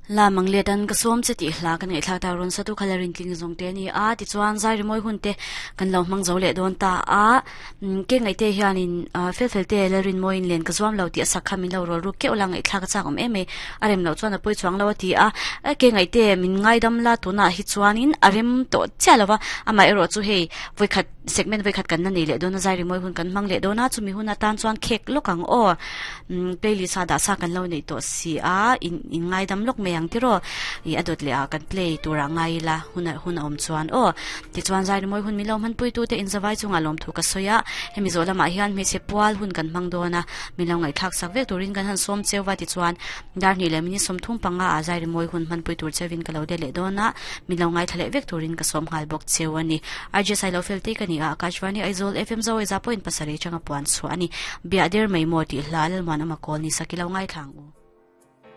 La Manglet an ka sawm che tih hla kan ngaihthlak tak rawn satu kha la rintling zawng te a ni a, tichuan zai rimawi hun te kan lo hmang zo leh dawn ta a, ke ngaihte hianin fel fel te la rinmawiin len ka zuam lo tih a sak kha min lo rawl ruk keuh la ngaihthlak a chak awm em mai, a rem loh chuan a pawi chuang lo a ti a, ke ngaihte min ngaidam la tunah hi chuanin a rem tawh chiah lo va, amaherawh chu hei vawikhat segment vawikhat kan la nei leh dawn a zai rimawi hun kan hmang leh dawn a, chumi hun atan chuan khek lawk ang aw. Umm playlist a dah sa kan lo neih tawh si a, in in ngaidam lawk mai ang tiraw ih a dawt leh ah kan play tur ah ngai ila hun a hun a awm chuan aw. Tichuan zai rimawi hun min lo hmanpui tu te inzavai chungah lawmthu ka sawi a, hemi zawh lamah hian hmeichhe pual hun kan hmang dawn a, min lo ngaihthlak sak vek turin kan han sawm cheu va tichuan dar hnih leh minute 30 panga ah zai rimawi hun hmanpui tur cheuin ka lo de leh dawn a, min lo ngaithla leh vek turin ka sawm nghal bawk cheu a ni. RJ Sailo Felte ka ni a, Akashvani Aizawl FM Zawaiza point pasarih atanga puan chhuah a ni. Biah der mai maw tih hla Lalmuan Awma kawl ni sak i lo ngaithla ang u.